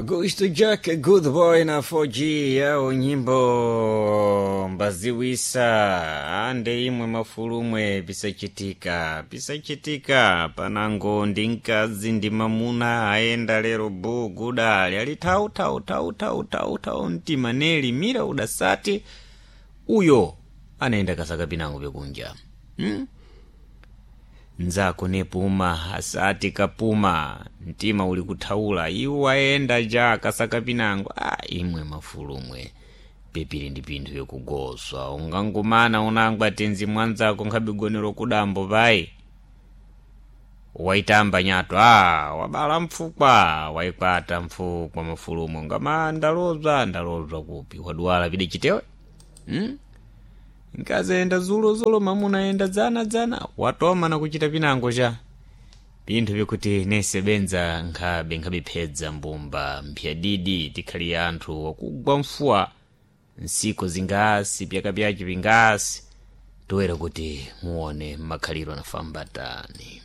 Augusto Jack Good Boy na 4G yao nyimbo mbaziwisa ande imwe mafulumwe pisachitika pisachitika panango ndi mkazi ndi mamuna ayenda lero bu gudali ali tau tau tau tau tau tau mtima neli mira udasati uyo anaenda kasaka pinango pekunja Nzako nepuma asati kapuma mtima uli kuthaula iwo ayenda ja kasaka pinango. A imwe mafulumwe pepili ndi pinthu yokugoswa ungangumana unangwa tenzi mwanzako nkhabigonero kudambo pai waitamba nyato a wabala mfukwa waikwata mfukwa mafulumwe ngama ndalozwa ndalozwa kupi waduwala pide chitewe. Nkazi ayenda zulozulo mamuna ayenda dzana dzana watoma na kuchita pinango cha pinthu vikuti nese benza nkhabe nkhabiphedza mbumba mphyadidi tikhali anthu wakugwa mfuwa nsiko zingasi pyaka pyace pingasi toera kuti muone makhaliro anafambatani.